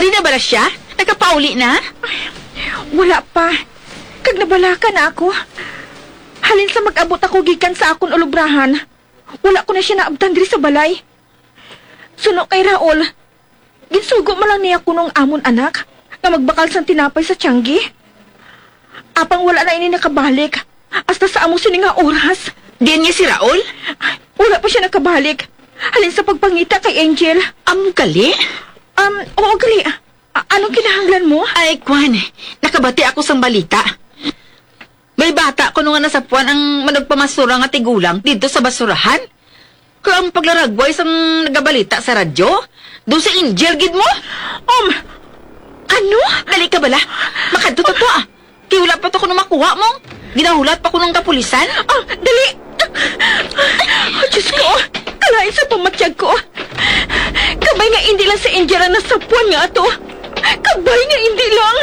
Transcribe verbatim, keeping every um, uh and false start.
Di na bala siya? Nakapauli na? Wala pa. Kag nabalaka na ako. Halin sa mag-abot ako gikan sa akon ulubrahan, wala ko na siya naabtan diri sa balay. Suno kay Raul, ginsugo man lang niya kuno ang amon anak nga magbakal sang tinapay sa tiyanggi. Apang wala na ini nakabalik hasta sa amo sini nga oras. Diin niya si Raul? Wala pa siya nakabalik. Halin sa pagpangita kay Angel. Amo gali? Um, oo, gali. A- anong kinahanglan mo? Ay, kwan. Nakabati ako sang balita. May bata kuno nga nasapuan ang manugpamastura nga tigulang didto sa basurahan. Kag ang paglaragway sang nagabalita sa radyo, daw si Angel gid mo? Um, ano? Dali ka bala. Makadto ta to, ah. Kay wala pa to kuno makuha mo. Ginahulat pa kuno ang kapulisan. Ah, dali! Oh, Diyos ko! Kalain sa pamatyag ko! Kabay nga indi lang si Angel ang nasapuan nga ato! Kabay nga indi lang!